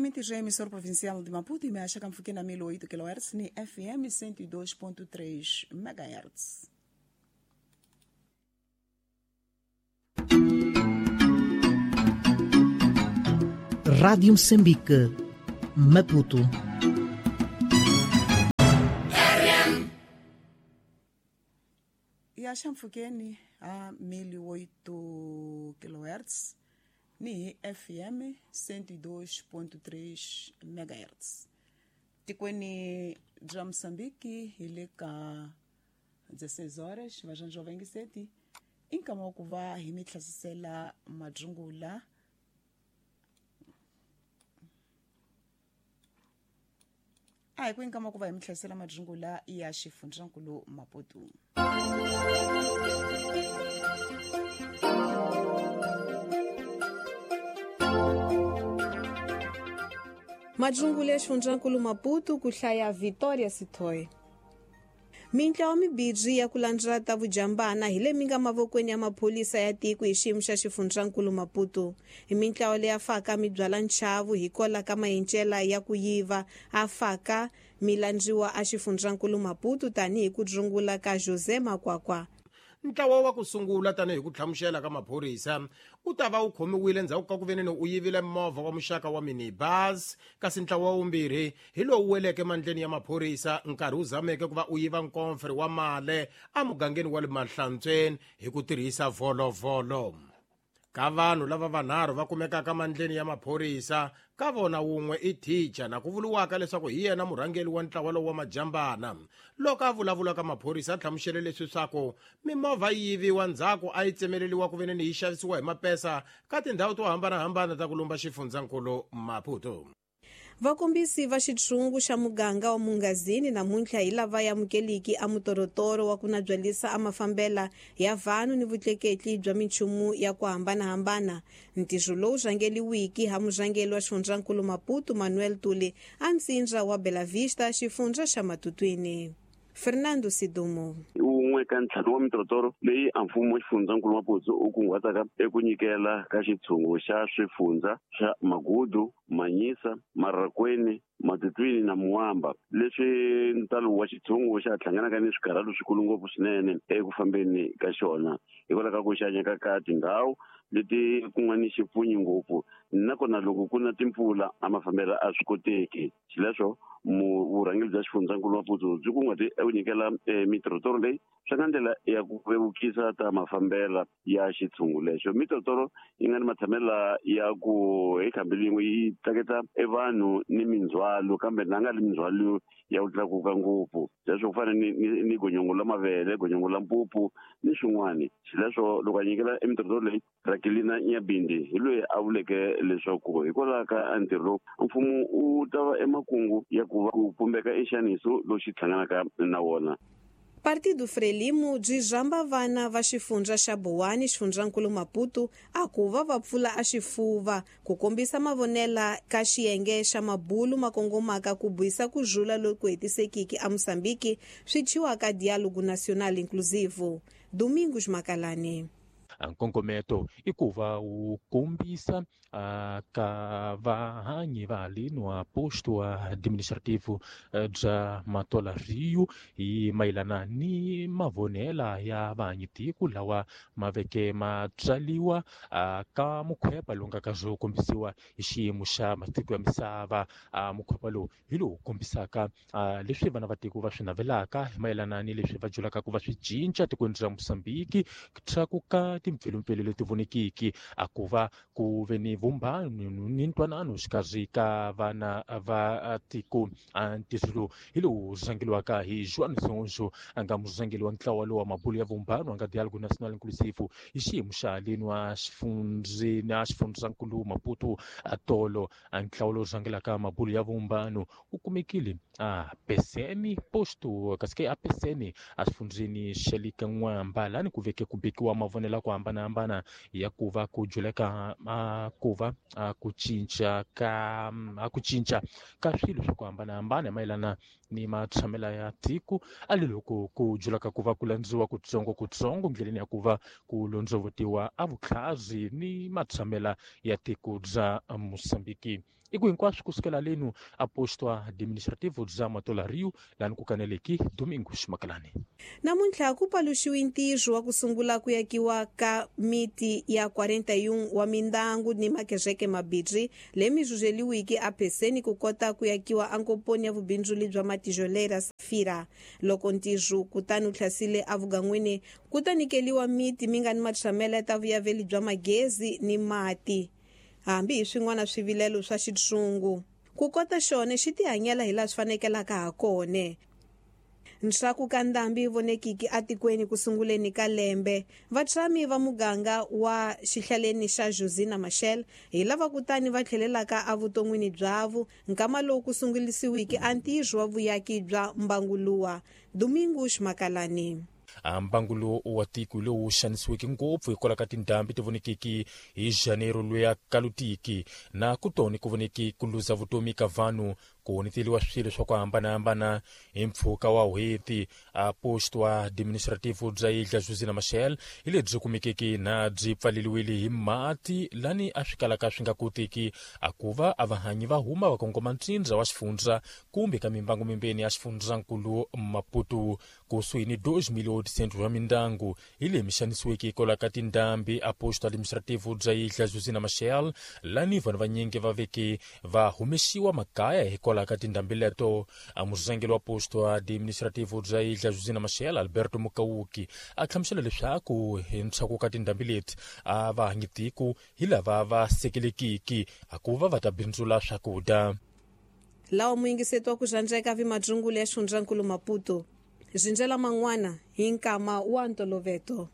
Mintirho ya emissora provincial de Maputo imeaxa kamfuke na 1008 kHz ni FM 102.3 MHz. Rádio Moçambique, Maputo. E a Xamfukeni a 1008 kHz ni FM 102.3 MHz. Tikweni bya Moçambique hi le ka 16 horas vajanjo 27 i nkama wa ku va hi mi hlasisela madzungula a hi ku inkama ku va hi mi hlasela madzungula ya xifundzankulu Maputo. Madzungula ya xifundzankulu Maputo ku hlaya Victoria Sithoy. Mintlawa mibirhi ya ku landzela ta vujambana hi leyi mi nga mavokweni ya maphorisa ya tiko hi xiyimo xa xifundzankulu Maputo. Hi mintlawa leyi faka mi byala nchavu hi kola ka mayencela ya ku yiva a faka mi landziwa a xifundzankulu Maputo tanihi ku dzungula ka José Makwakwa. Ntlawa wa ku sungula tanihi ku hlamusela ka maphorisa u ta va u khomiwile endzhaku ka ku veneni u yivile movha wa muxaka wa minibus, kasi ntlawa wa vumbirhi hi lowu weleke mandleni ya maphorisa nkarhi wu zameke ku va u yiva nkomfere wa male emugangeni wa le Mahlantsweni hi ku tirhisa volovolo. Ka vanhu lava vanharhu va kumekaka mandleni ya maphorisa, ka vona wun'we i thicha na ku vuriwaka leswaku hi yena murhangeri wa ntlawa lowu wa majambana. Loko a vulavula ka maphorisa a hlamusele leswi swaku mimovha yi yiviwa ndzhaku a yi tsemeleriwa ku veneni yi xavisiwa hi mapesa ka tindhawu to hambanahambana ta ku lumba xifundzankulu Maputo. Vakombisi va xitshungu xa muganga wa Mungazini namuntlha hi lava ya amukeliki a mutorotoro wa ku nabyalisa a mafambela ya vanhu ni vutleketli bya minchumu ya ku hambanahambana. Ntirho lowu rhangeliwiki ha murhangeri wa xifundzankulu Maputo Manuel Tuli a ntsindza wa Bela Vista xifundza xa Matutwini. Fernando Sidumo. Wun'we ka ntlhanu wa mitorotoro leyi a mfumo wa xifundzankulu Maputo u kunguhataka eku nyikela ka xitshungu xa swifundza swa Magudu, Manyisa, Marrakweni, Matutwini na Muamba, leswi ntalo wa xitshungu xa hlanganaka ni swikarhalo swikulu ngopfu swinene eku fambeni ka xona hikwalaho ka ku xanyeka ka tindhawu leti ku nga ni xipfunyi ngopfu, nakona loko ku na timpfula a mafambelo a swi koteki. Xileswo vurhangeri bya xifundzankulu Maputo byi kunguhate eku nyikela mitorotoro leyi swi nga ndlela ya ku vevukisa ta mafambela ya xitshungu lexo. Mitorotoro yi nga ni matshamela ya ku hi khambi lin'we yi tlaketa e vanhu ni mindzhwalo, kambe na nga li mindzhwalo ya ku tlakuka ngopfu, leswo ku fana ni gonyongo la mavele, gonyongo la mpupu ni swin'wani. Xileswo loko a nyikela emitorotoro leyi, Rakelina Nyabindi hi loyi a vuleke leswaku hikwalaho ka ntirho lowu mfumo wu ta va emakungu ya ku va ku pumbeka enxaniso lowu xi hlanganaka na wona. Partido Frelimo byi rhamba vana va xifundza xa Bowani xifundzankulu Maputo a ku va va pfula a xifuva ku kombisa mavonela ka xiyenge xa mabulu ma kongomaka ku buyisa ku rhula loku hetisekiki a Mozambique swi thyiwaka Diálogo Nacional Inclusivo. Domingos Makalani. Nkongometo i ku va wu kombisa ka vahanyi va haleni wa posto administrativo bya Matola Rio hi mayelana ni mavonela ya vahanyi tiko lawa ma veke ma tswaliwa ka mukhwepa lowu nga ka byo kombisiwa hi xiyimo xa matiko ya misava. Mukhwepa lowu hi lowu kombisaka leswi vana va tiko va swi navelaka hi mayelana ni leswi va julaka ku va swi cinca tikweni ra Mozambique, tlakuka timpfelumpfelu leti vonekiki a ku va ku ve ni vumbano ni ntwanano xikarhi ka vana va tiko. Ntirho lowu hi lowu rhangeriwaka hi Joan Zonzo a nga murhangeri wa ntlawa lowu wa mabulu ya vumbano a nga Diálogo Nacional Inclusivo hi xiyimo xa haleni wa xifundzankulu Maputo tolo. Ntlawa lowu rhangelaka mabulu ya vumbano wu kumekile a PCM posto kasi ke a PCM a xifundzeni xa le ka N'wamba lani ku veke ku bekiwa mavonelo ya ku hambanahambana ya ku va ku juleka ku va ku cinca ka ku cinca ka swilo swa ku hambanahambana hi mayelana ni matshamela ya tiko a le loko ku julaka ku va ku landziwa kutsongokutsongo ndleleni ya ku va ku londzovotiwa a vutlhazi ni matshamela ya tiko bya Mozambique. I ku hinkwaswo kusukela lenu a posto administrativo bya Matola Rio lani ku kaneleki Domingos Makalani. Namuntlha ku paluxiwe ntirho wa ku sungula ku yakiwa ka miti ya 41 wa mindangu ni makezeke mabirhi lemi rhurheliwiki apheseni ku kota ku yakiwa ankoponi ya vubindzuli bya matijolera Safira. Loko ntirho kutani wu hlasile evugan'wini ku ta nyikeliwa miti mi nga ni matshamelo ya ta vuyaveli bya magezi ni mati, hambi hi swin'wana swivilelo swa xitshungu. Ku kota xona xi tihanyela hi laha swi fanekelaka ha kona. Nxaku ka ndhambi yi vonekiki atikweni ku sunguleni ka lembe, vatshami va muganga wa xihlaleni xa Josina Machel hi lava kutani va tlhelelaka evuton'wini byavo nkama lowu ku sungulisiwiki a ntirho wa vuyaki bya mbanguluwa. Domingos Makalani. Mbangu wa tiko lowu xanisiweke ngopfu hikwalaho ka tindhambi ti vonekeki hi Janeiro loya kalutiki na kutoni ku voneki ku luza vutomi ka vanhu, ku honeteliwa swilo swa ku hambanahambana hi mpfhuka wa hweti. A posto administrativo bya Ilha Josina Machel hi lebyi kumekeke na byi pfaleliwile hi mati lani a swi kalaka swi nga koteki a ku va a vahanyi va huma va kongoma ntsindza wa xifundza kumbe ka mimbangu mimbeni ya xifundzankulu Maputo. Kusuhi ni 2.800 wa mindyangu hi leyi mi xanisiweke hikwalaho ka tindhambi a posto administrativo bya Ilha Josina Machel lani vanhu vanyingi va veke va humesiwa makaya hikwalaho ka tindhambi leto. A murhangeri wa posto administrativo bya Ilha Josina Machel Alberto Mukauki a hlamusela leswaku hi ntshaku ka tindhambi leti a va hanyi tiko hi lava va sekelekiki a ku va va ta bindzula swakudya. Lawa muyingiseti wa ku rhandzeka vi madzungulu ya xifundzankulu Maputo zindzela man'wana hi nkama wa ntoloveto.